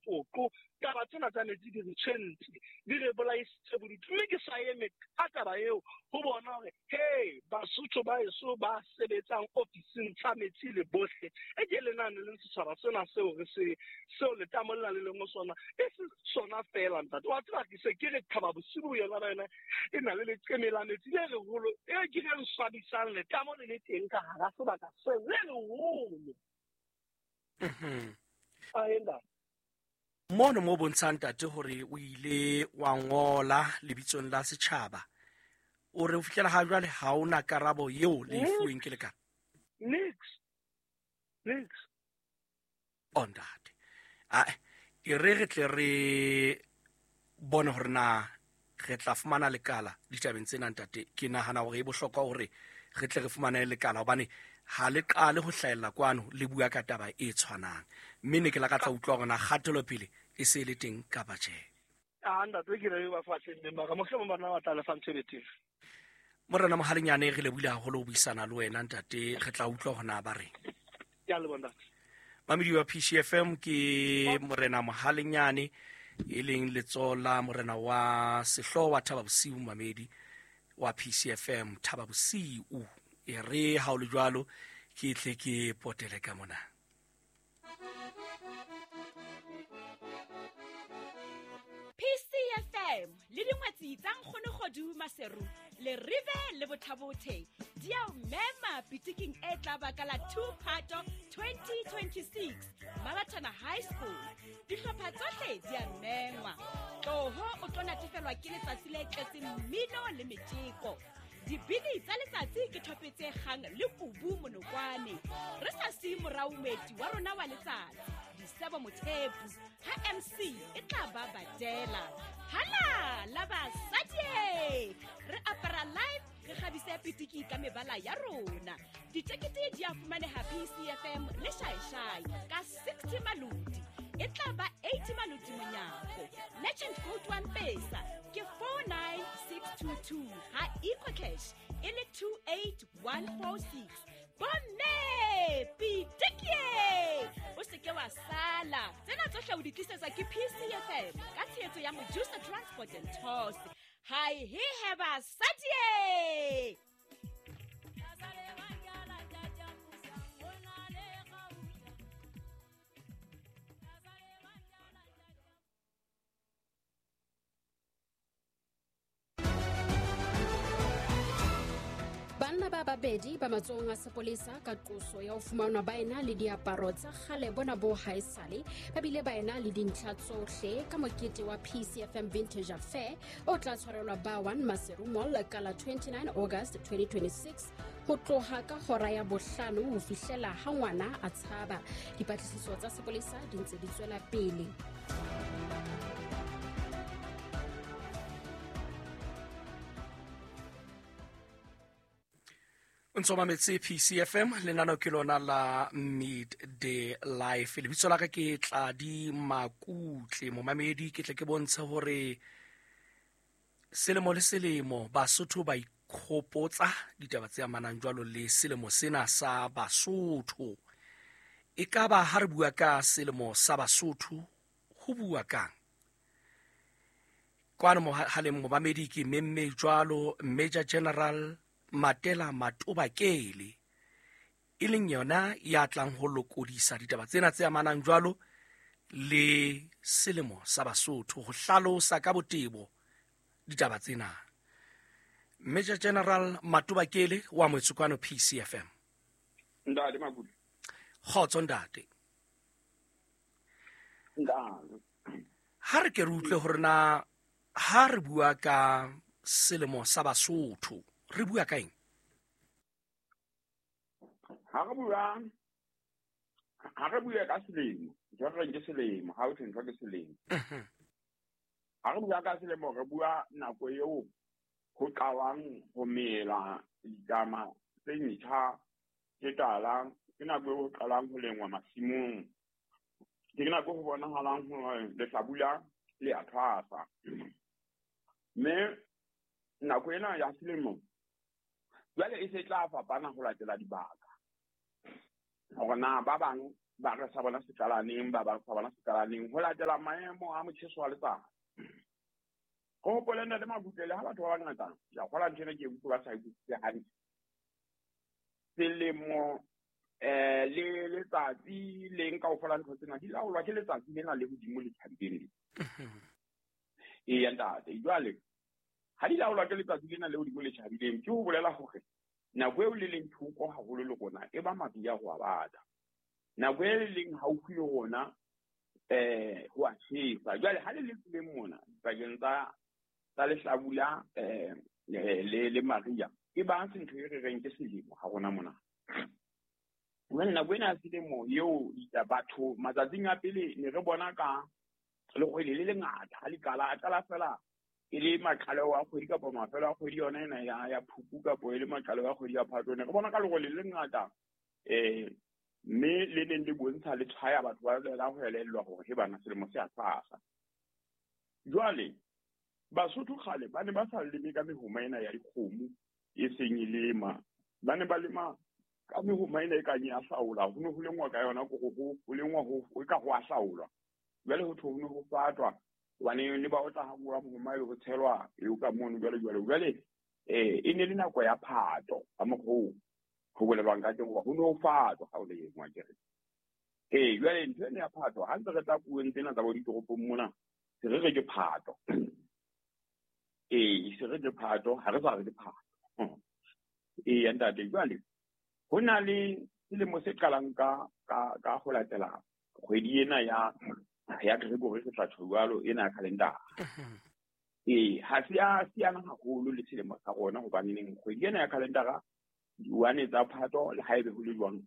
Lepoqo. Taba tsena tsa metsi di re tshwentse, di re bolaisitse bodutu, mme ke sa eme ka taba eo ho bona hore he Basotho ba eso ba sebetsang ofising tsa metsi le bohle e ke lenane leng setjhaba sena seo re se seo letamo lena le leng ho sona, e se sona feela ntate. Wa tseba ke se ke re Thaba Bosiu yona ba yona e na le leqeme la metsi le leholo e ke le swabisang letamo le le teng ka hara sebaka seo le leholo. Aenda. Mono mo bontshang ntate hore o ile wa ngola lebitsong la setjhaba, o re ho fihlela ha jwale ha o na karabo eo le e fuweng ke lekala. Nix. Nix. O ntate, ae e re re tle re bone hore na re tla fumana lekala ditabeng tsena ntate. Ke nahana hore e bohlokwa hore re tle re fumane lekala, hobane ha le qale ho hlahella kwano le bua ka taba e tshwanang, mme ne ke lakatsa utlwa hore na kgatelopele e se e le teng kapa tjhe. A ntate, ke re ba fahleng neng mara mohlomong bana ba tla lefa ntho e betere. Morena Mohalenyane, re lebohile haholo ho buisana le wena ntate, re tla utlwa hore na ba reng. Ke a leboha ntate. Mamedi wa PCFM, ke Morena Mohalenyane e leng letsoho la morena wa sehlooho wa Thaba Bosiu. Mamedi wa PCFM, Thaba Bosiu, e re ha o le jwalo ke tle ke potele ka mona. PCFM le dingwetsi tsa Nkgonogodu Maseru le Rive le Bothabothe di a o mema pitiking e tla ba ka la 2 Phato 2026 Mabatana High School. Dihlopha tsohle di a mengwa. Tloho o tlo natefelwa ke letsatsi le tletseng mmino le metjeko. Dibini tsa letsatsi ke thope tse kgang le kubu monokwane. Re sa siye morao moeti wa rona wa letsatsi, Disebo Mothepu, ha MC e tla ba badela. Hala la basadi! Re apara live, re kgabise pitiki ka mebala ya rona. Ditekete di a fumaneha PCFM le Shaeshai ka 60 maloti. E tla ba 80 maloti monyako. Merchant code wa Mpesa ke 49622, ha EcoCash e le 28146. Bomme, pitikie! O se ke wa sala. Tsena tsohle o di tlisetswa ke PCFM ka tshehetso ya Mojusa Transport and Tours. Hai he he basadi! Banna ba babedi ba matsohong a sepolesa ka qoso ya ho fumanwa ba ena le diaparo tsa kgale bona bo haesale, ba bile ba ena le dintlha tsohle ka mokete wa PCFM Vintage Affair o tla tshwarelwa ba 1 Maseru Mall ka la 29 August 2026 ho tloha ka hora ya bohlano ho fihlela ha ngwana a tshaba. Dipatlisiso tsa sepolesa di ntse di tswela pele. O ntse o mametse PCFM, lenaneo ke lona la Midday Life. Lebitso la ka ke Tladi Makutle. Momamedi, ke tle ke bontshe hore selemo le selemo Basotho ba ikhopotsa ditaba tse amanang jwalo le selemo sena sa Basotho. E ka ba ha re bua ka selemo sa Basotho, ho bua kang? Kwano mohaleng momamedi ke memme jwalo Major General Matela Matobakele, e leng yona ya tlang ho lokodisa ditaba tsena tse amanang jwalo le selemo sa Basotho, ho hlalosa ka botebo ditaba tsena. Major General Matobakele wa Moetsokwano PCFM. Ntate Makutle. Kgotso ntate. Ntate. Ha re ke re utlwe hore na ha re bua ka selemo sa Basotho re bua ka eng? Ha re bua, ha re bua ka selemo, ntho re reng ke selemo, ha ho thwe ntho ke selemo. Ha re bua ka selemo, re bua nako eo ho qalwang ho mela ditlama tse ntjha tse tala, ke nako eo ho qalang ho lengwa masimong, ke nako ho bonahalang hore lehlabula le a thwasa. Mme nako ena ya selemo jwale e se tla fapana ho latela dibaka, hore na ba bang ba re sa bona se qala neng, ba bang sa bona se qala neng, ho latela maemo a motjheso wa letsatsi. Ho hopole ntate Makutle, le ha batho ba bangata ke a kgolwa ntho ena ke e utlwe ba sa e utlwisise hantle. Selemo le letsatsi leng kaofela ntho tsena di laolwa ke letsatsi lena le hodimo le tjhabileng le. Eya ntate, jwale ha di laolwa ke letsatsi lena le hodimo le tjhabileng, ke ho bolela hore nako eo le leng thoko haholo le rona e ba mariha ho a bata. Nako e le leng haufi le rona ho a tjhesa. Jwale ha le le tseleng mona dipakeng tsa lehlabula le mariha, e ba se ntho e re reng ke selemo ha rona mona. Jwale nako ena ya selemo eo batho matsatsing a pele ne re bona ka lekgwele le lengata ha le qala, a qala fela e le maqaleo a kgwedi kapa mafelo a kgwedi yona ena ya Phupu kapa e le maqaleo a kgwedi ya Phato, ne re bona ka lekgwele le lengata mme le neng le bontsha le tshwaya batho ba lela ho elellwa hore he bana selemo se a tshwasa. Jwale Basotho kgale ba ne ba sa leme ka mehoma ena ya dikgomo e seng e lema, ba ne ba lema ka mehoma ena e kang ya hlaola, ho ne ho lengwa ka yona kore ho lengwa ho e ka ho a hlaolwa. Jwale ho thwe ho ne ho fatwa hobane ne ba otla ha bua mohoma ebe ho tshelwa eo ka mono jwale jwale. Jwale e ne le nako ya phato ka mokgwa oo ho bolelwang ka teng hoba ho ne ho fatwa ha o lengwa ke re. Jwale ntho ena ya phato ha ntse re tla puong tsena tsa bo ditoropong mona se re re ke phato. Se re ke phato, ha re sa re ke phato. Eya ntate, jwale ho na le selemo se qalang ka ho latela kgwedi ena ya Gregory re tla tjho jwalo ena ya calendar. Ha se a siana haholo le selemo sa rona hobane neng kgwedi ena ya calendar diwane tsa Phato le haebe ho le jwang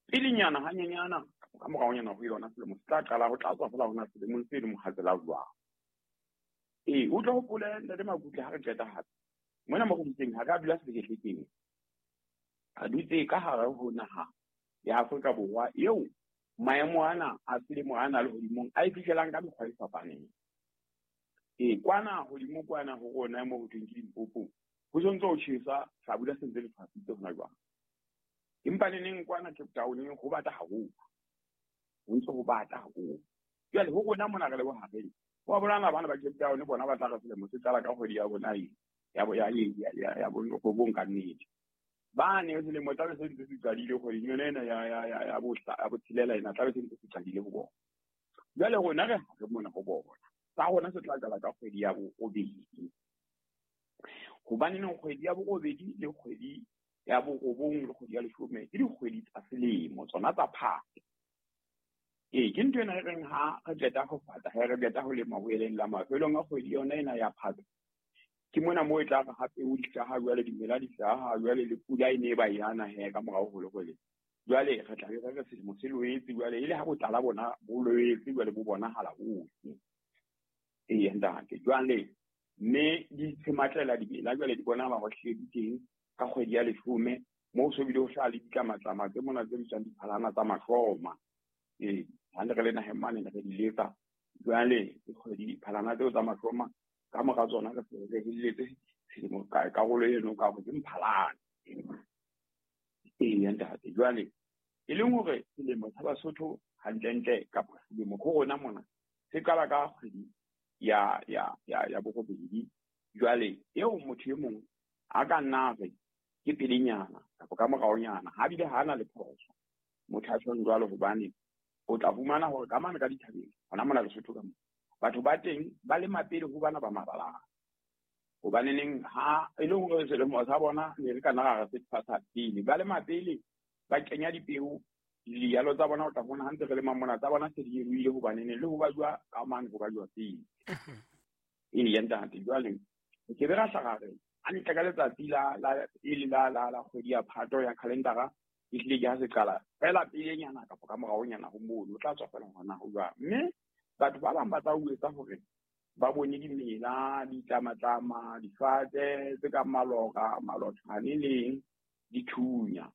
pelenyana hanyenyana ka moraonyana ho yona selemo se tla qala ho tla tswa fela hona selemong se le mohatsela jwang. O tla hopole ntate Makutle ha re qeta hape mona mo re dutseng ha re a dula sehlekehlekeng, re dutse ka hare ho naha ya Afrika Borwa eo maemo ana a selemo ana le hodimong a e fihlelang ka mekgwa e fapaneng. Kwana hodimo kwana ho rona mo ho thweng ke Limpopo ho sontso ho tjhesa hlabula se ntse le tshwasitse hona jwang. Empa le neng kwana Cape Town ho bata haholo, ho ntse ho bata haholo. Jwale ho rona mona re le bohareng, ho a bolana bana ba Cape Town bona ba tla re selemo se qala ka kgwedi ya bona e ya borobong ka nnete. Ba ne selemo tla be se ntse se qadile kgweding yona ena ya botshelela ena tla be se ntse se qadile ho bona. Jwale rona re hare mona ho bona. Sa rona se tla qala ka kgwedi ya borobedi. Hobane neng kgwedi ya borobedi le kgwedi ya borobong le kgwedi ya leshome ke dikgwedi tsa selemo tsona tsa Phato. Ke ntho ena e reng ha re qeta ho fata, ha re qeta ho lema ho eleng la mafelong a kgwedi yona ena ya Phato. Ke mona moo e tla re hape o di hlaha jwale dimela di hlaha jwale le pula e ne e ba yana he ka morao ho le. Jwale re tla be re re selemo se loetse jwale e le ha botlala bona bo loetse jwale bo bonahala hohle. Ntate, jwale mme di tshematlela dimela jwale di bonahala hore hlile di teng ka kgwedi ya leshome moo so bile ho hlaha le ditlamatlama tse mona tse bitswang diphalana tsa mahloma. Ha ne re le naheng mane ne re di letsa jwale dikgwedi diphalana tseo tsa mahloma ka mora tsona re se re heletse selemo ka karolo eno ka hore ke mphalane. Ntate, jwale e leng hore selemo sa Basotho hantlentle kapa selemo ho rona mona se qala ka kgwedi ya borobedi. Jwale eo motho e mong a ka nna re ke pelenyana kapa ka moraonyana ha bile ha ana le phoso motho a tjhong jwalo, hobane o tla fumana hore ka mane ka dithabeng hona mona Lesotho ka mona batho ba teng ba lema pele ho bana ba mabalana. Hobane neng ha e le hore selemo sa bona ne re ka nna ra se tshwasa pele, ba lema pele ba kenya dipeo dijalo tsa bona, o tla bona ha ntse re lema mona tsa bona se di ruile hobane neng le ho ba jwa ka mane ho ba jwa pele. Ntate, jwale ke be ra hlaha re hantle ka letsatsi la pele la kgwedi ya Phato ya calendara e hlile ke ha se qala fela pelenyana kapa ka moraonyana ho mono o tla tswa fela hona ho jwang. Mme batho ba bang ba tla o etsa hore ba bone dimela, ditlamatlama, difate tse kang maloka, malothwane leng dithunya.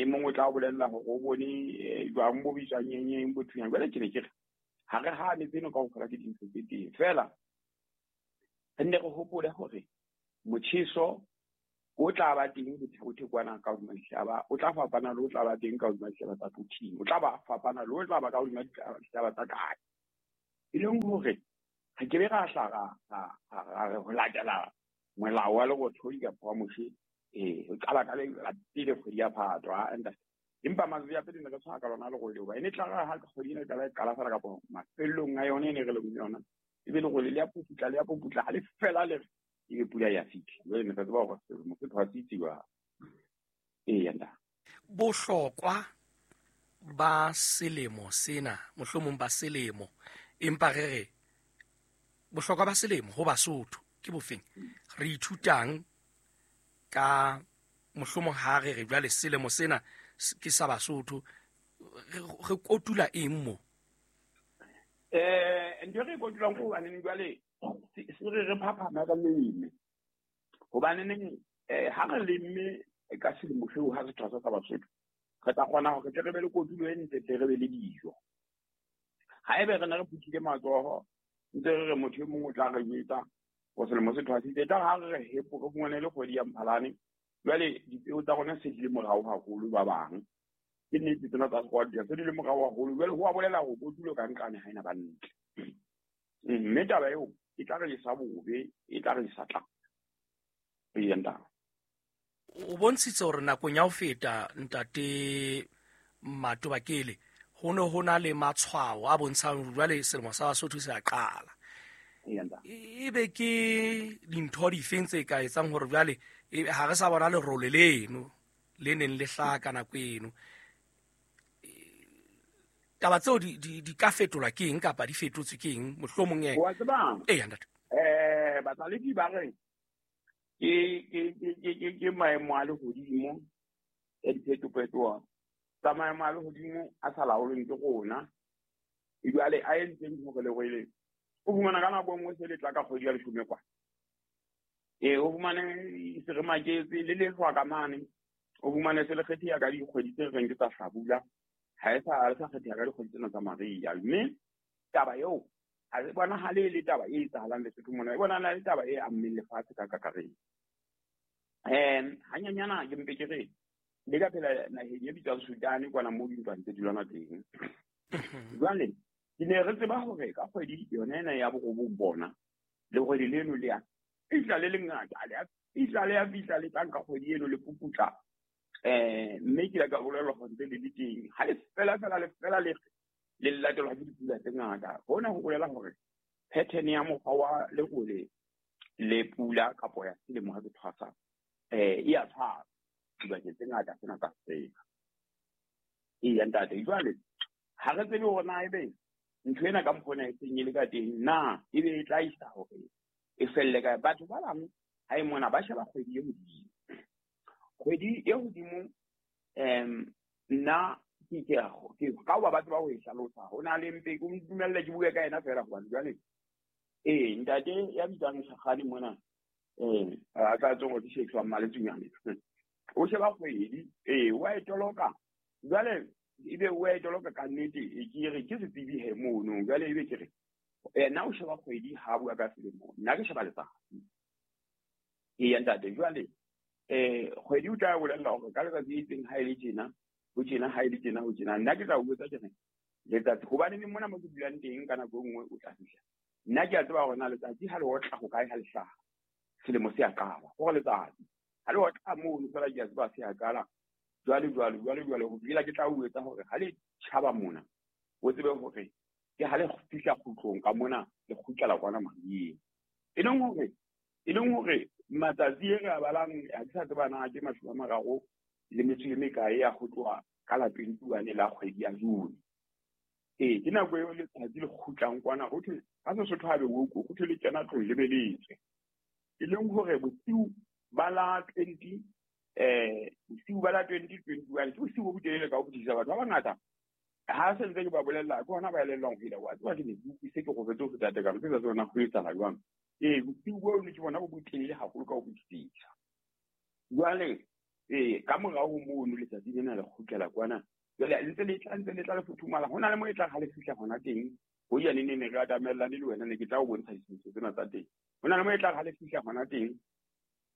Mongwe o tla o bolella hore o bone jwang bo bitswang eng bo thunya. Jwale ke ne ke re ha re hane tseno kaofela ke dintho tse teng, fela re nne re hopole hore motjheso O tla ba teng Botha kwana ka hodima dihlaba, o tla fapana le o tla ba teng ka hodima dihlaba tsa Quthing, o tla ba fapana le o tla ba ka hodima dihlaba tsa kae. E leng hore re ke be ra hla ra re ho latela molao wa lerothodi kapa wa Moshe, o qala ka la pele kgwedi ya Phato, empa matsatsi a pele ne re tshwara ka lona lerole hoba e ne tla re ha kgwedi ena e qala e qala fela kapa mafelong a yone e ne re leng yona, ebe lerole le ya puputla le ya puputla ha le fela le re ebe pula ya fihla. Jwale ne re tseba hore selemo se thwasitse jwang. Eya ntate. Bohlokwa ba selemo sena, mohlomong ba selemo, empa re re bohlokwa ba selemo ho Basotho ke bofeng? Re ithutang ka mohlomong ha re re jwale selemo sena ke sa Basotho, re kotula eng mo? Ntho e re e kotulang ke hobaneng jwale se re re phaphama ka leme. Hobaneng ha re lemme ka selemo seo ha se thwasa sa Basotho, re tla kgona hore tle re be le kotulo e ntle, tle re be le dijo. Ha ebe re ne re phuthile matsoho, ntse re re motho e mong o tla re jwetsa hore selemo se thwasitse, tla re ha re re hepo, re fumane le kgwedi ya Mphalane. Jwale dipeo tsa rona se di le morao haholo ba bang. Ke nnete tsena tsa sekgowa di se di le morao haholo. Jwale ho a bolela hore kotulo ka nqane ha ena ba ntle. Mme taba eo e tla re isa bobe, e tla re isa tlala. Eya ntate. O bontshitse hore nakong ya ho feta ntate Matobakele ho ne ho na le matshwao a bontshang hore jwale selemo sa Basotho se a qala. Eya ntate. Ebe ke dintho difeng tse ka etsang hore jwale ha re sa bona lerole leno le neng le hlaha ka nako eno? Taba tseo di ka fetolwa ke eng kapa di fetotswe ke eng mohlomong e? Wa tseba? Eya ntate. Batlalehi ba re ke maemo a lehodimo ya diphetophetoho tsa maemo a lehodimo a sa laolweng ke rona. Jwale a entseng hore lerole o fumana ka nako e nngwe se le tla ka kgwedi ya leshome kwa. O fumane se re maketse le lehlwa ka mane, o fumane se le kgetheha ka dikgwedi tse reng ke tsa hlabula, ha e sa le sa kgetheha ka dikgwedi tsena tsa mariha. Mme taba eo ha e bonahale e le taba e etsahalang Lesotho mona, e bonahala e le taba e ammeng lefatshe ka kakaretso. Hanyanyana ke mpe ke re le ka phela naheng e bitswang Sudan kwana moo dintwa ntse di lwana teng. Jwale ke ne re tseba hore ka kgwedi yona ena ya borobong bona lerole leno le ya fihla le lengata, le ya fihla le ya fihla le tla nka kgwedi eno le puputla. Mme ke ile ka bolellwa hore ntse le le teng. Ha le fela fela le fela le le latelwa ke dipula tse ngata. Hona ho bolela hore pattern ya mokgwa wa lerole le pula kapo ya selemo ha se thwasa, e a tshwana dibakeng tse ngata tsena tsa Afrika. Eya ntate, jwale ha re tsebe hore na ebe ntho ena ka mokgwa ona e seng e le ka teng, na ebe e tla isa hore e felle kae? Batho ba bang ha e mona ba sheba kgwedi e hodimo. Kgwedi e hodimo, nna ke ka hoba ba tseba ho e hlalosa. Ho na le mpe ke dumelle ke bue ka yena feela hobane jwale ntate ya bitswang Shakgane mona, a tla tswa hore ke Shakespeare wa Mmaletsunyane. O sheba kgwedi, wa e toloka. Jwale ebe o e toloka ka nnete, ke re ke setsebi he mono. Jwale ebe ke re, nna o sheba kgwedi ha bua ka selemo, nna ke sheba letsatsi. Eya ntate, jwale kgwedi o tla bolella hore ka letsatsi le itseng ha e le tjena, ho tjena, ha e le tjena, ho tjena. Nna ke tla o botsa ke re letsatsi, hobane le mona mo ke dulang teng ka nako e nngwe o tla fihla. Nna ke a tseba hore na letsatsi ha le otla ho kae ha le hlaha, selemo se a qala. Hore letsatsi ha le otla mono fela ke a tseba se a qala. Jwale, jwale, jwale, jwale, ho fihlela ke tla o etsa hore ha le tjhaba mona, o tsebe hore ke ha le fihla kgutlong ka mona, le kgutlela kwana mariheng. E leng hore matsatsi e re a balang, ha ke sa tseba na ke mashome a mararo le metso e mekae ya ho tloha ka la 21 la kgwedi ya June. Ke nako eo letsatsi le kgutlang kwana, ho thwe ka Sesotho ha be o ko, ho thwe le kena tlong le be le tswe. E leng hore bosiu ba la twenty, bosiu ba la twenty twenty-one, ke bosiu bo botelele ka ho fetisisa. Batho ba bangata ha se ntse ke ba bolella, ke hona ba elellwang ho ile wa tseba ke ne ke utlwise ke robetse ho feta tekano, ke sa tsebe na ho etsahala jwang. Bosiu boo ne ke bona bo botelele haholo ka ho fetisisa. Jwale, ka morao ho mono letsatsi lena le kgutlela kwana. Jwale ntse le tla, ntse le tla le futhumala. Ho na le moo e tla ha le fihla hona teng. Ho ya neng neng re atamellane le wena, ne ke tla o bontsha ditshwantsho tsena tsa teng. Ho na le moo e tla ha le fihla hona teng,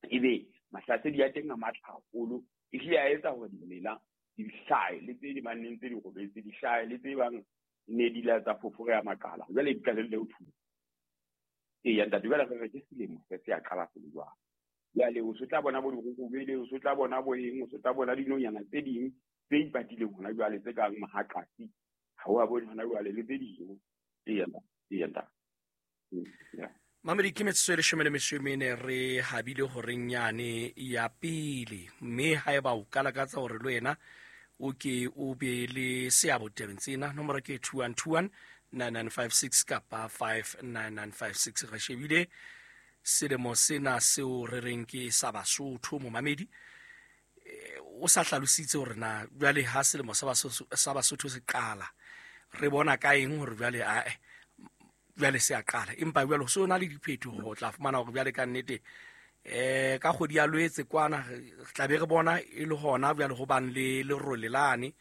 ebe Mahlasedi a teng a matla haholo, ehlile a etsa hore dimela di hlahe, le tse di banneng tse di robetse di hlahe, le tse bang ne di la tsa fofore ya makala jwale di qalelle ho thunya. Eya ntate, jwale re re ke selemo se se a qala se le jwalo. Jwale o se tla bona bo dirurubele, o se tla bona bo eng, o se tla bona dinonyana tse ding tse ipatileng hona jwale tse kang mahaqasi, ha o a bone hona jwale le tse ding. Eya eya ntate. Mamedi, ke metsotso e 14 re habile horeng yane ya pele, mme haeba o ka lakatsa hore le wena o ke o be le seabo tabeng tsena, nomoro ke 2121 9956 kapa 59956. Re shebile selemo sena seo re reng ke sa Basotho. Momamedi, o sa hlalositse hore na jwale ha selemo sa Basotho se qala re bona ka eng hore jwale ae jwale se a qala, empa jwale ho se na le diphetoho. O tla fumana hore jwale ka nnete ka kgwedi ya Lwetse kwana re tla be re bona e le hona jwale ho bang le lerole lane,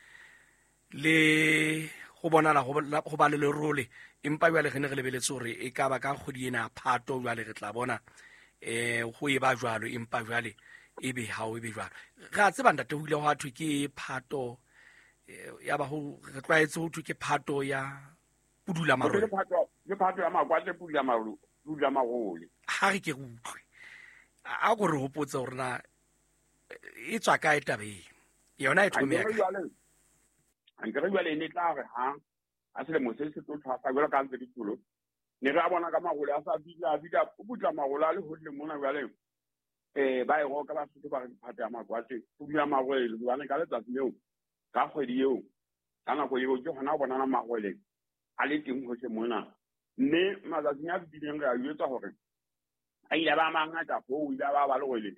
le ho bonala ho ba le lerole, empa jwale re ne re lebeletse hore e ka ba ka kgwedi ena ya Phato jwale re tla bona ho e ba jwalo, empa jwale e be ha o e be jwalo. Re a tseba ntate, ho ile hwa thwe ke Phato, ya ba ho re tlwaetse ho thwe ke Phato ya pudula marole. Ke Phato ya makwatle, pudula marole, pudula marole. Ha re ke re utlwe, a ko re hopotse hore na e tswa kae taba e yona e thome ya kae. Ankere jwale ne tla re ha a selemo se se tlo thwasa jwalo ka ntse dithulo, ne re a bona ka marole a sa bitla bitla o putla marole a le hohle mona jwale. Ba e roka Basotho ba re Phato ya makwatle, pudula marole, hobane ka letsatsi leo, ka kgwedi eo, ka nako eo ke hona ho bonana marole a le teng hohle mona. Mme matsatsing a fetileng re a jwetsa hore a ile ba mangata hoo, o ile ba ba lerole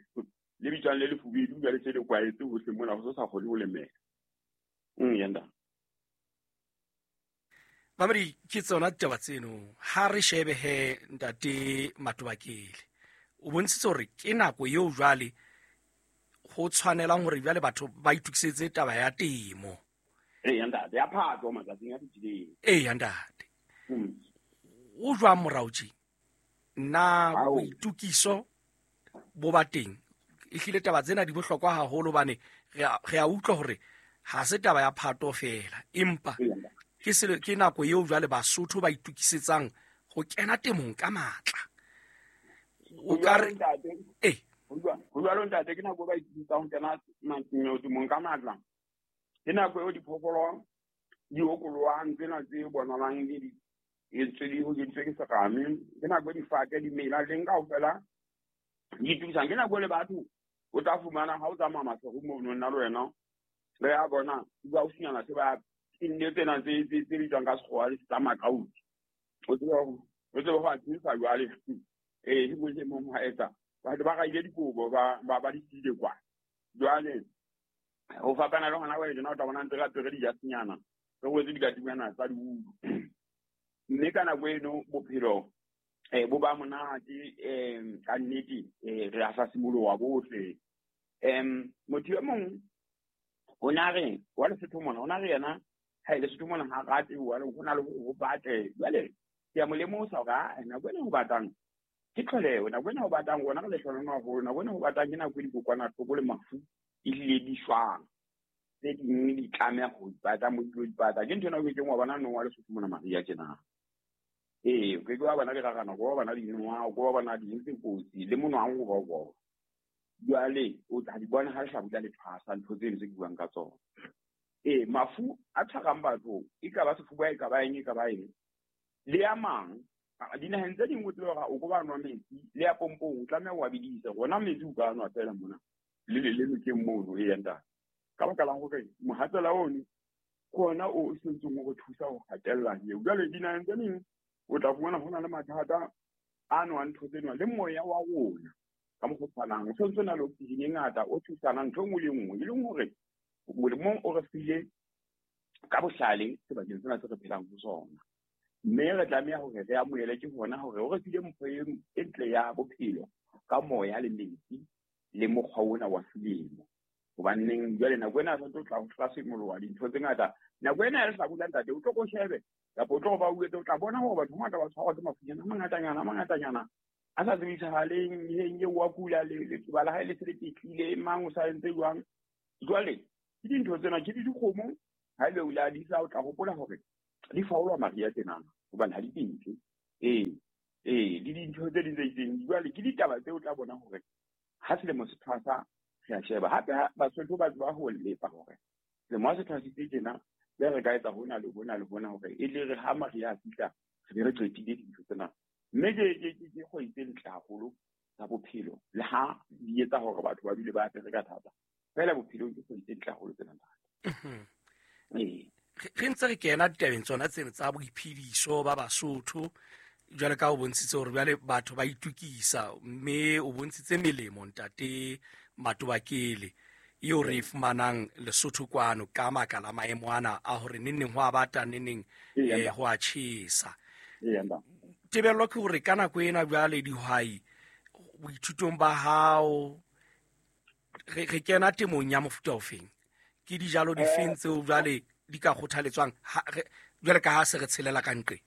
le bitswang le lefubedu jwale se le kwaetse hohle mona, ho se sa kgone ho lemela. Yanda. Mamedi, ke tsona ditaba tseno. Ha re shebe he ntate Matobakele, o bontshitse hore ke nako eo jwale ho tshwanelang hore jwale batho ba itokisetse taba ya temo. Eya ntate, ya Phato matsatsing a fetileng. Eya ntate. O jwang morao tje? Nna boitukiso bo ba teng. Ehlile taba tsena di bohlokwa haholo hobane re a utlwa hore ha se taba ya Phato feela, empa ke nako eo jwale Basotho ba itukisetsang ho kena temong ka matla. O ka re ho jwalo ntate, ke nako ba itukisetsang ho kena temong ka matla. Ke nako eo diphoofolo di okolohang tsena tse bonalang di entswe di hokeditswe ke serame. Ke nako e difate dimela teng kaofela di itukisang. Ke nako le batho o tla fumana ha o tsamaya Maseru mono, nna le wena re a bona ba o sinyana se ba nne tsena tse bitswang ka sekgowa tsa makauti. O tsebe ho a tsebisa jwale. E mong le mong ha etsa batho ba raile dikobo ba di siile kwa. Jwale ho fapana le hona jwale tjena o tla bona ntse re apere dijasenyana, re rwetse dikatinyana tsa diulu. Mme ka nako eno bophelo bo ba monate, ka nnete re a hlasimoloha bohle. Motho e mong o na re wa Lesotho mona, o na re yena ha e Lesotho mona ha rate jwale ho na le ho batle. Jwale ke a mo lemosa hore nako ena ho batang ke tlholeho, nako ena ho batang rona re lehlohonolo haholo, nako ena ho batang ke nako e dikokwanahloko le mafu ehlile di shwang. Tse ding di tlameha ho ipata mo di tlo ipata. Ke ntho ena o kekeng wa bona nong wa Lesotho mona mariha tjena. Ee, o keke wa bona dirarana, o ke wa bona dinoha, o ke wa bona ding tse kotsi le monwang o ba o bona. Jwale o tla di bona ha lehlabula le thwasa ntho tseno tse ke buang ka tsona. Ee, mafu a tshwarang batho e ka ba sefuba, e ka ba eng, e ka ba eng, le a mang dinaheng tse ding o tsebe hore o ko ba nwa metsi le ya pompong o tlameha o a bedise. Rona metsi o ka nwa feela mona le le nokeng mono. Eya ntate, ka baka la hore mohatsela ono ke ona o sentseng o re thusa ho hatella eo. Jwale dinaheng tse ding o tla fumana ho na le mathata a nwang ntho tsena le moya wa rona ka mokgwa o tshwanang o sentse o na le oxygen e ngata o thusana ntho e nngwe le nngwe, e leng hore Modimo o re file ka bohlale sebakeng sena se re phelang ho sona. Mme re tlameha hore re amohele ke hona hore o re file mpho e ntle ya bophelo ka moya le metsi le mokgwa ona wa selemo. Hobaneng jwale nako ena re tlo tla ho hlasimoloha dintho tse ngata. Nako ena ya lehlabula ntate, o tlo ko shebe kapa o tlo ba uetse, o tla bona hore batho ba bangata ba tshwarwa ke mafunyana a mangatanyana, a mangatanyana a sa tsebisagaleng eng eo wa kula letsoba la hae le se le ketlile mang o sa entse jwang. Jwale ke dintho tsena ke le dikgomo ha ebe o ile a disa o tla hopola hore di faolwa mariha tsenana hobane ha di kentle. Ee le dintho tse ding tse itseng. Jwale ke ditaba tseo o tla bona hore ha selemo se thwasa re a sheba. Hape Basotho ba tseba ho lepa hore selemo ha se thwasitse tjena le re ka etsa hona le hona le hona hore e le re ha mariha a fihla re be re qetile dintho tsena. Mme ke kgwedi tse ntle haholo tsa bophelo le ha di etsa hore batho ba dule ba apere ka thata. Fela bophelong ke kgwedi tse ntle haholo tsena ntate. Re ntse re kena ditabeng tsona tseno tsa boiphediso ba Basotho jwale ka o bontshitse hore jwale batho ba itukisa mme o bontshitse melemo ntate Matobakele eo re e fumanang Lesotho kwano ka maka la maemo ana a hore neneng ho a bata neneng ho a tjhesa. Tebello ke hore ka nako ena jwale dihwai boithutong ba hao re kena temong ya mofuta ofeng, ke dijalo difeng tseo jwale di ka kgothaletswang jwale ka ha se re tshelela ka nqe?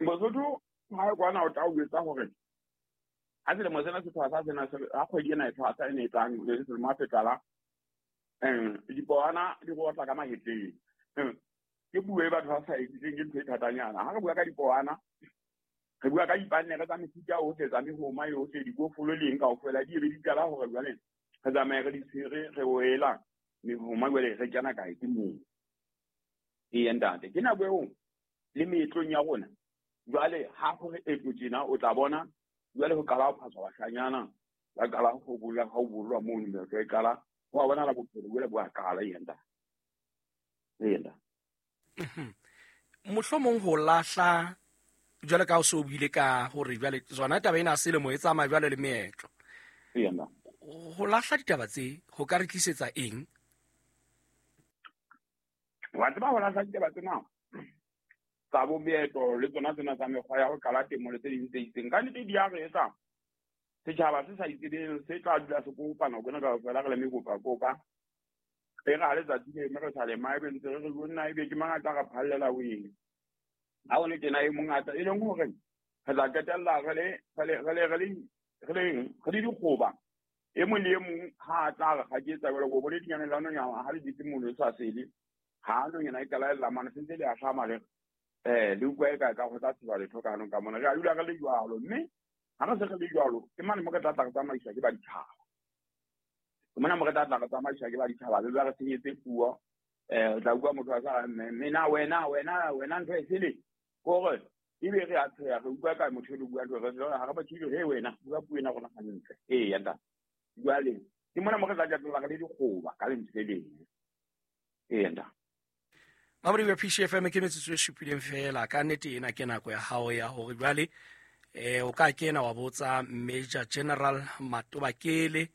Basotho ha kwana o tla o etsa hore ha selemo sena se thwasa sena ha kgwedi ena e thwasa e ne e tlang le selemo ha se qala dipohwana di rotla ka mahetleng. Ke puo e batho ba sa e itseng, ke ntho e thatanyana. Ha re bua ka dipohwana re bua ka dipannere tsa mefuta ohle tsa mehoma yohle dikofolo le eng kaofela di ebe di qala hore jwale re tsamaye re di tshwere re oela mehoma jwale re kena kae ke moo. Ee ntate, ke nako eo le meetlong ya rona jwale ha hore etlo tjena o tla bona jwale ho qala ho phaswa bashanyana ba qala ho bolla ha o bollwa mono meetlo e qala ho a bonahala bophelo jwale bo a qala. Ee ntate. Ee ntate. Mohlomong ho lahla jwale ka o se o buile ka hore jwale tsona taba ena selemo e tsamaya jwale le meetlo. Ho lahla ditaba tse ho ka re tlisetsa eng? Wa tseba ho lahla ditaba tsena tsa bo meetlo le tsona tsena tsa mekgwa ya ho qala temo le tse ding tse itseng ka nnete di a re etsa setjhaba se sa itsebeng se tla dula se kopa nako ena kaofela re le mekopakopa. E re ha letsatsi le eme re sa lema ebe ntse re re jonna ebe ke mang a tla re phallela o eng. Ha o le tjena e mongata e leng hore re tla qetella re le dikgoba. E mong le e mong ha a tla re kgaketsa jwale ko bone dinyane la nonyana ha le dutse mono e sa sele ha nonyana e qala e lla mane sentse le ahlama le le utlwa e ka go tla tseba letho ka hanong ka mona. Re a dula re le jwalo mme ha re se re le jwalo ke mane mo re tla tla re tsamaiswa ke ba ditjhaba. Ke mona mo re tla tla re tsamaiswa ke ba ditjhaba be ba re senyetse puo. O tla utlwa motho a sa mme na wena wena wena ntho e sele kore ebe re a tsheha re utlwa ka motho e le bua ntho re ha re batho ebe he wena bua puo ena rona hantle. Ee ya ntate. Jwale ke mona mo re tla qetella re le dikgoba ka lentswe le leng. Ee ntate. Mamodi wa PCFM ke metsotso e supileng fela ka nnete ena ke nako ya hao ya hore jwale o ka kena wa botsa Major General Matobakele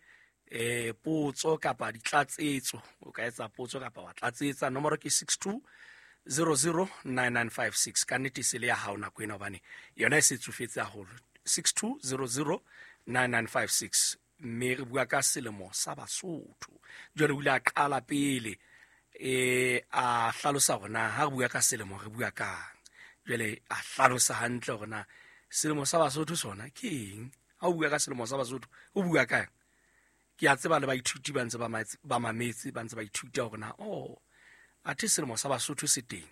potso kapa ditlatsetso. O ka etsa potso kapa wa tlatsetsa. Nomoro ke 62009956. Ka nnete se le ya hao nako ena hobane yona e se tsofetse haholo. 62009956. Mme re bua ka selemo sa Basotho. Jwale o ile a qala pele a hlalosa hore na ha re bua ka selemo re bua kang. Jwale a hlalosa hantle hore na selemo sa Basotho sona ke eng. Ha o bua ka selemo sa Basotho o bua kang. Ke a tseba le baithuti ba ntse ba mametse ba ntse ba ithuta hore na athe selemo sa Basotho se teng.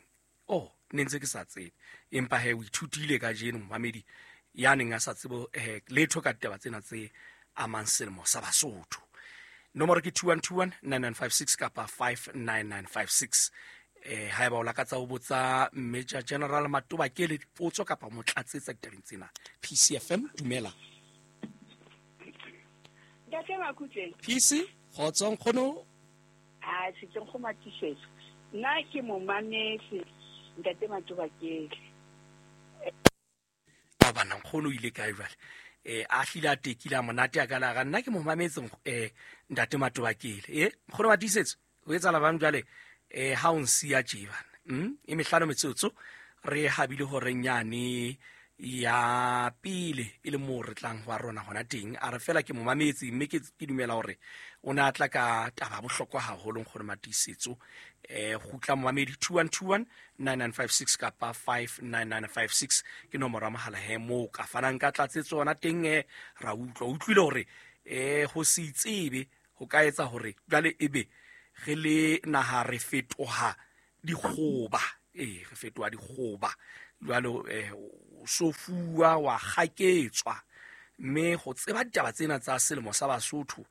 Ne ntse ke sa tsebe empa he o ithutile kajeno momamedi ya neng a sa tsebe letho ka ditaba tsena tse amang selemo sa Basotho. Nomoro ke 21219956 kapa 59956. Haeba o lakatsa ho botsa Major General Matobakele dipotso kapa mo tlatsetsa ditabeng tsena. PCFM dumela. Ntate Makutleng. PC kgotso nkgono. A se ke go matisetso. Nna ke momametse ntate Matobakele. A bana nkgono ile kae jwale? A hlile a tekile a monate a ka la ga nna ke momametse ntate Matobakele. Nkgono matisetso o etsahala bang jwale ha o nsiya tje bana. E mehlano metsotso re habile hore nyane Ya pele e le moo re tlang wa rona hona teng. A re fela ke mo mametse, mme ke dumela hore o ne a tla ka taba bohlokwa haholo, Nkgono Matiisetso. Kgutla momamedi, 2121 9956 kapa 59956 ke nomoro ya mohala he moo ka fanang ka tlatsetso hona teng. Ra utlwa, o utlwile hore ho se itsebe ho ka etsa hore jwale ebe re le naha re fetoha dikgoba. Re fetoha dikgoba jwale, so fuwa wa kgaketswa. Mme ho tseba ditaba tsena tsa selemo sa Basotho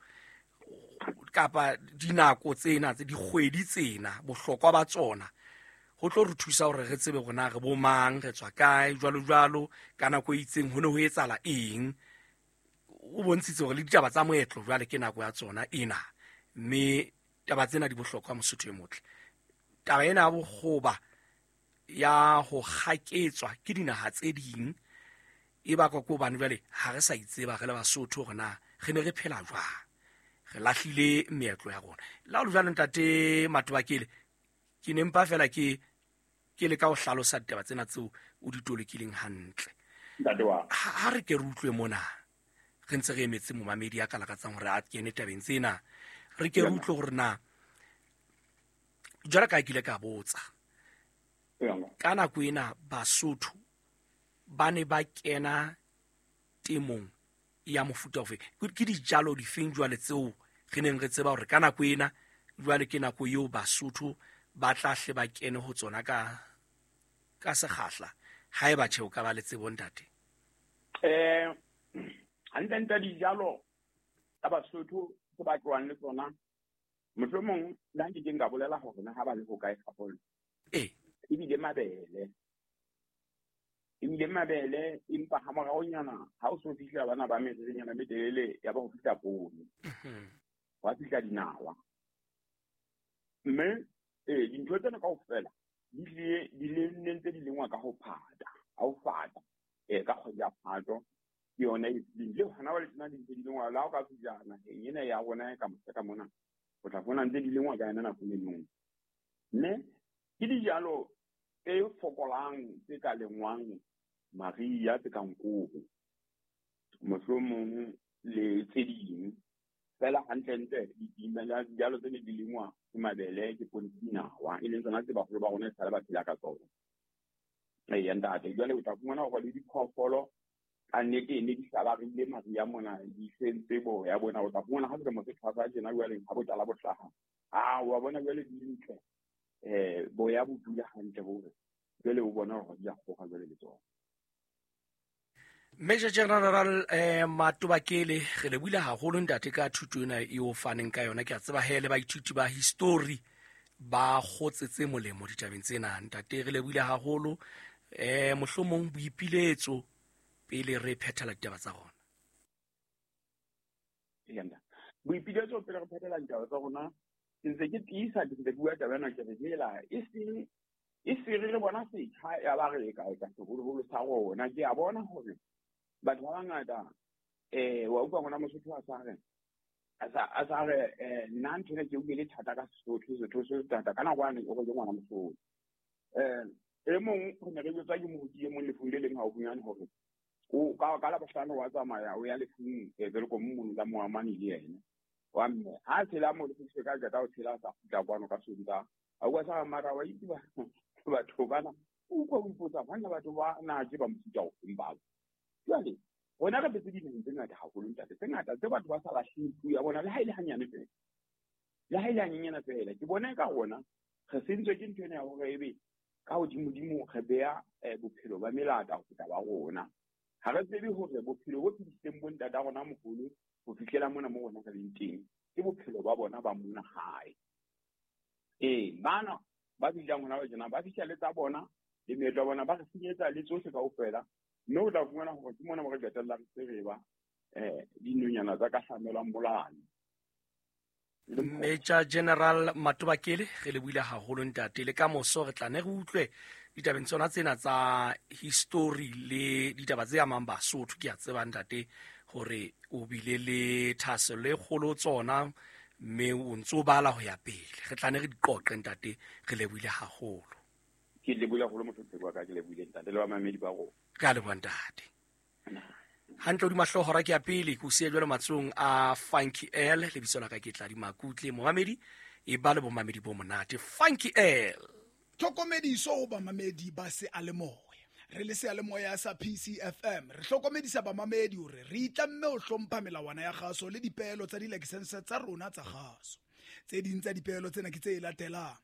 kapa dinako tsena tse dikgwedi tsena, bohlokwa ba tsona ho tlo re thusa hore re tsebe hore na re bo mang, re tswa kae, jwalo jwalo, ka nako e itseng ho ne ho etsahala eng. O bontshitse hore le ditaba tsa moetlo jwale ke nako ya tsona ena, mme taba tsena di bohlokwa, Mosotho e motle. Taba ena ya bokgoba, ya ho kgaketswa ke dinaha tse ding, e bakwa ke hobane jwale ha re sa itseba re le Basotho hore na re ne re phela jwang, re lahlile meetlo ya rona. Le ha ho le jwalo, Ntate Matobakele, ke ne mpa fela ke leka ho hlalosa ditaba tsena tseo o di tolokileng hantle. Ntate wa. Ha re ke re utlwe mona, re ntse re emetse momamedi ya ka lakatsang hore a kene tabeng tsena, re ke re utlwe hore na jwalo ka ke ile ka botsa, ka nako ena Basotho ba ne ba kena temong ya mofuta ofe? Ke dijalo difeng jwale tseo re neng re tseba hore ka nako ena jwale ke nako eo Basotho ba tla hle ba kene ho tsona ka sekgahla? Haeba tjhe, o ka ba le tsebo, ntate. Hantle-ntle dijalo tsa Basotho tse ba tlohang le tsona, mohlomong le ha nke nka bolela hore na ha ba le hokae haholo. Ebile mabele. Ebile mabele, empa ha moraonyana ha o so fihla bana ba meririnyana e metelele, ya ba ho fihla poone. Wa fihla dinawa. Mme dintho tsena kaofela di tlile, di le nne ntse di lengwa ka ho phata, ha ho fata, ka kgwedi ya Phato, ke yona e tlileng. Le hona jwale tjena di ntse di lengwa, le ha o ka fihla naheng ena ya rona e ka mose ka mona, o tla fumana ntse di lengwa ka yona nako eno. Mme ke dijalo tse fokolang tse ka lengwang mariha, tse kang koro, mohlomong le tse ding. Feela hantle-ntle dijalo tse ne di lengwa ke mabele, ke poone, ke dinawa, e leng tsona tse baholo ba rona esale ba phela ka tsona. Eya ntate, jwale o tla fumana hore le diphoofolo ka nnete ne di hlabarile mariha mona, di sentse boya bona. O tla fumana ha selemo se thwasa tjena jwale, ha botala bo hlaha, wa bona jwale di ntle, boya bo dula hantle hore jwale o bona hore di a kgoga jwale le tsona. Major General Matobakele, re lebohile haholo ntate ka thuto ena eo faneng ka yona. Ke a tseba he le baithuti ba history ba kgotsetse molemo ditabeng tsena. Ntate, re lebohile haholo. Mohlomong boipiletso pele re phethela ditaba tsa rona. Eya, boipiletso pele re phethela ditaba tsa rona, ke ntse ke tiisa, ke ntse ke bua taba ena, ke re hela, e seng e se re bona setjha ya ba re ka etsa seholoholo sa rona. Ke a bona hore batho ba bangata, wa utlwa ngwana Mosotho a sa re, a sa re, nna ntho ena ke utlwile thata ka Sesotho, Sesotho se thata ka nako yane o re ke ngwana Mosotho. E mong re ne re jwetswa ke moruti e mong lefung le leng haufinyane hore o ka Labohlano wa tsamaya o ya lefung, Welkom mono la Moamane le yena. Wa mme ha tshela mo lefung se ka qeta ho tshela sa kgutla kwano ka Sontaha. A bua sa mara wa itse ba batho bana, o utlwa o ipotsa banna batho ba na ke ba mofuta ofeng bao. Jwale rona re phetse dinaheng tse ngata haholo ntate, tse ngata tse batho ba sa lahleng puo ya bona le ha e le hanyane feela. Le ha e le hanyenyana feela. Ke bona eka rona re sentswe ke ntho ena ya hore ebe ka hodimodimo re beha bophelo ba melata ho feta ba rona. Ha re tsebe hore bophelo bo phedisitseng bo ntata rona moholo ho fihlela mona mo rona re leng teng, ke bophelo ba bona ba mona hae. Bana ba fihlang hona ba tjena, ba fihla le tsa bona le meetlo ya bona, ba re senyetsa le tsohle kaofela. Mme o tla fumana hore ke mona mo re qetellang se re ba, dinonyana tsa ka hlamelwang molane. Major General Matobakele, re lebohile haholo ntate. Le ka moso re tla ne re utlwe ditabeng tsona tsena tsa history le ditaba tse amang Basotho. Ke a tseba ntate hore o bile le thahasello e kgolo tsona, mme o ntso bala ho ya pele. Re tla ne re di qoqe ntate, re lebohile haholo. Ke lebohile haholo motho wa ka, ke lebohile ntate le bamamedi ba rona. Re a leboha ntate. Hantle hodima hlooho hora ke ya pele, ke o siya jwalo matsohong a Funky L. Lebitso la ka ke Tladi Makutle. Momamedi, e ba le bomamedi bo monate. Funky L. Tlhokomediso ho bamamedi ba seyalemoya. Re le seyalemoya sa PCFM, re hlokomedisa bamamedi hore re itlamme ho hlompha melawana ya kgaso le dipeelo tsa dilakesense tsa rona tsa kgaso. Tse ding tsa dipeelo tsena ke tse latelang: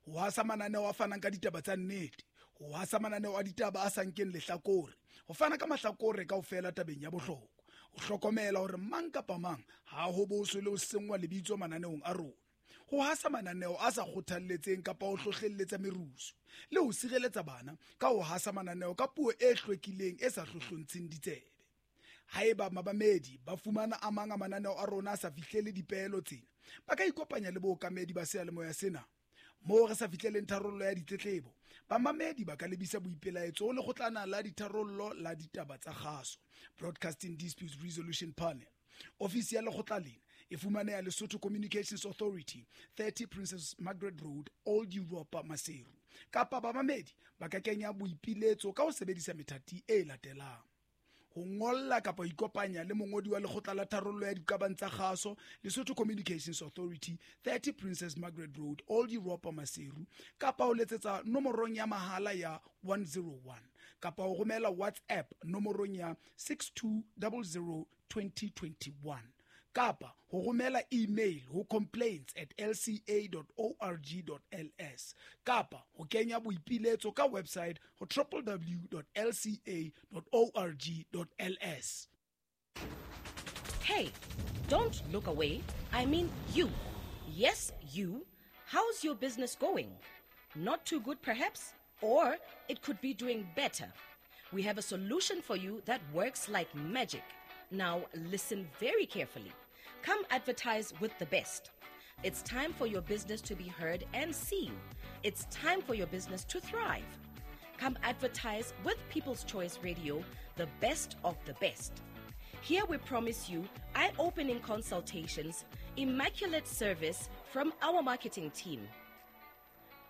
ho hasa mananeo a fanang ka ditaba tsa nnete, ho hasa mananeo a ditaba a sa nkeng lehlakore, ho fana ka mahlakore kaofela tabeng ya bohlokwa, ho hlokomela hore mang kapa mang ha ho boswe le ho senngwa lebitso mananeong a rona, ho hasa mananeo a sa kgothalletseng kapa ho hlohlelletsa merusu, le ho sireletsa bana ka ho hasa mananeo ka puo e hlwekileng e sa hlohlontsheng ditsebe. Haeba mabamedi ba fumana a mang a mananeo a rona a sa fihlele dipeelo tsena, ba ka ikopanya le bookamedi ba seyalemoya sena. Moo re sa fihleleng tharollo ya ditletlebo, bamamedi ba ka lebisa boipelaetso ho lekgotlana la ditharollo la ditaba tsa kgaso, Broadcasting Disputes Resolution Panel. Ofisi ya lekgotla lena e fumaneha Lesotho Communications Authority, 30 Princess Margaret Road, Old Europa, Maseru. Kapa bamamedi ba ka kenya boipiletso ka ho sebedisa methati e latelang: ho ngolla kapa ho ikopanya le mongodi wa lekgotla la tharollo ya diqabang tsa kgaso, Lesotho Communications Authority, 30 Princess Margaret Road, Old Europa, Maseru, kapa ho letsetsa nomorong ya mahala ya 101, kapa ho romela WhatsApp nomorong ya 6200 2021, kapa ho romela email ho complaints@lca.org.ls, kapa ho kenya boipiletso ka website ho www.lca.org.ls. Hey, don't look away. I mean you. Yes, you. How's your business going? Not too good, perhaps? Or it could be doing better. We have a solution for you that works like magic. Now, listen very carefully. Come advertise with the best. It's time for your business to be heard and seen. It's time for your business to thrive. Come advertise with People's Choice Radio, the best of the best. Here we promise you eye-opening consultations, immaculate service from our marketing team.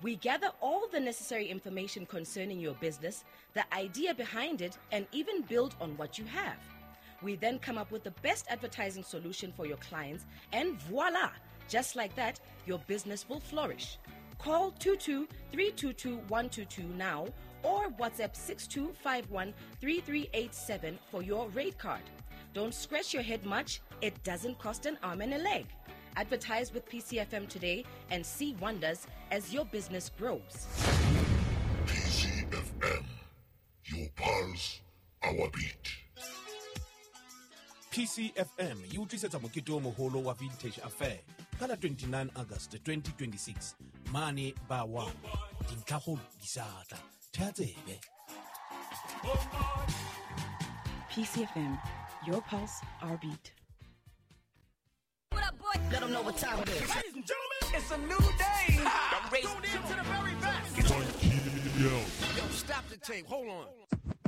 We gather all the necessary information concerning your business, the idea behind it, and even build on what you have. We then come up with the best advertising solution for your clients, and voila! Just like that, your business will flourish. Call 22-322-122 now or WhatsApp 6251-3387 for your rate card. Don't scratch your head much. It doesn't cost an arm and a leg. Advertise with PCFM today and see wonders as your business grows. PCFM, your pulse, our beat. PCFM e utlwisetsa mokete o moholo wa Vintage Affair ka la 29 August 2026 mane ba 1. Dintlhakgolo di sa tla. Thea tsebe. PCFM, your pulse, our beat. Let them know what time it is. Ladies and gentlemen, it's a new day. I'm tune in to the very best. Yo, stop the tape. Hold on.